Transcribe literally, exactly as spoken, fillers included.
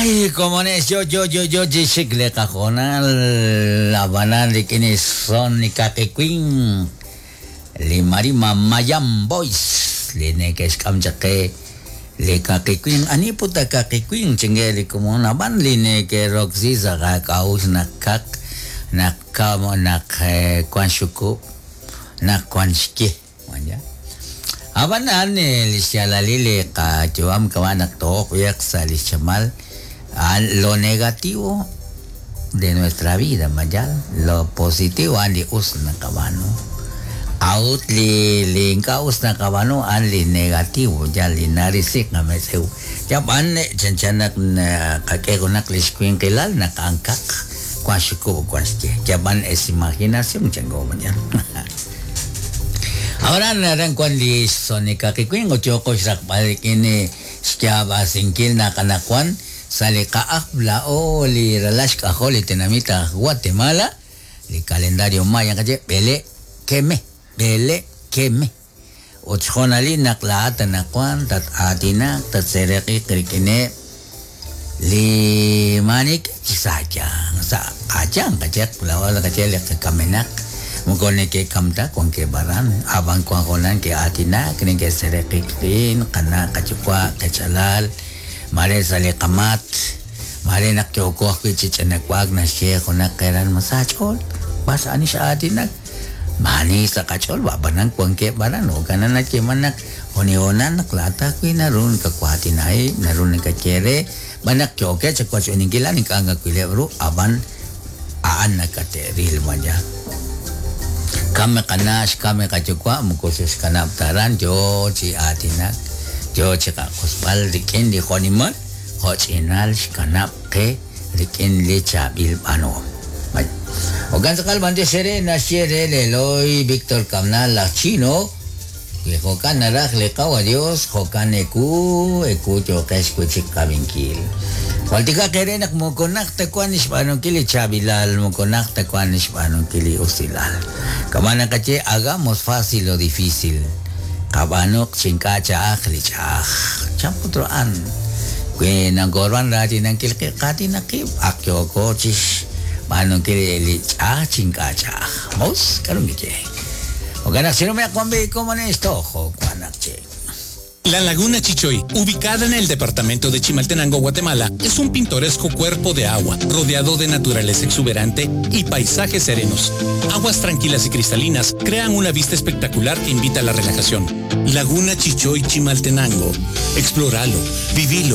Ay, komones, yo, yo, yo, yo, chixik le qajonal abanan rik'in son li kaqiwin li marima Mayan Boys li neke'xk'am chaq qe li kaqiwin ani puta kaqiwin chinge li komon ab'an li neke'roksi sa' qak'a'uxl naq kaq naq kam naq wan xukub' naq wan xye ya ab'an a'an li xyaalalil li qayu'am kama' naq tooq b'eq sa' li xchamal lo negativo de nuestra vida mayal lo positivo a'an li us naqab'aanu a'ut li li ink'a' us naqab'aanu a'an li negativo ya li narisi qametz'ew yab'an chanchan naq qak'e junaq li xwinqilal naq a'an kaq wan xukub' wan xye yab'an es imaginación chango mañana. Ahora naran wan li xsonika qiwin ut yooqo xraqb'al rik'in xyaab'asinkil naq anaqwan sa' li qa'aj la'o li ralal xk'ajol li tenamit aj Guatemala li calendario maya qaye b'ele keme b'ele keme ut xjonalil naq laa'at anaqwan tat-aatinak tatsereq'iq rik'ineb' li manik sa' sa' qachan qayeq la'o qaye li qakamenaq moko neke'kamta wankeb' aran ab'an wan jonan ke'aatinak neke'sereq'ik qin qana' qayuwa' qechalal mare sa' li qamat mare naq yooko ajwi' chi ch'inak'uak naxye junaq qeran ma sa' ch'ool b'as ani x'aatinak maani sa' qach'ool b'ab'anan wankeb' aran jo'kan nayeeman naq jonihonan naq laa'at ajwi' naru nakawaatinaheb' naru nakaye re b'an naq yookeb' chawach'uninkil a'an ink'a' nakawileb' ru ab'an a'an nakate'ril maya kame qana' xkame qayuwa' moko xe'xkanab' ta aran yoo chi aatinak yoo chi qaq'usb'al rik'in li jonimal jo'ch'inal xkanab' qe rik'in li chaab'il b'aanuhom. Jo'kan tz'aqal b'antiox re naxye re leloy Víctor Kamnal laj Chino wi jo'kan naraj li qawa Dios jo'kan eku eku yooqex wi' chik qab'inkil. Jwaltikaq eere naq moko najt ta wan xb'aanunkil li chaab'ilal moko najt ta wan xb'aanunkil li usilal. Kama' naqaye hagamos fácil lo difícil. Qab'aanuq chink'a' cha'aj li ch'a'aj. Chan put a'an wi nakorwan raatinankil qib' qaatinaq qib' ak yooko chixb'aanunkil li ch'a'aj chink'a' cha'aj. Mos k'aru nkiye. Jo'kan naq xinume'q wan b'i komones tojo wan naq che. La Laguna Chichoy, ubicada en el departamento de Chimaltenango, Guatemala, es un pintoresco cuerpo de agua, rodeado de naturaleza exuberante y paisajes serenos. Aguas tranquilas y cristalinas crean una vista espectacular que invita a la relajación. Laguna Chichoy, Chimaltenango. Explóralo, vivilo.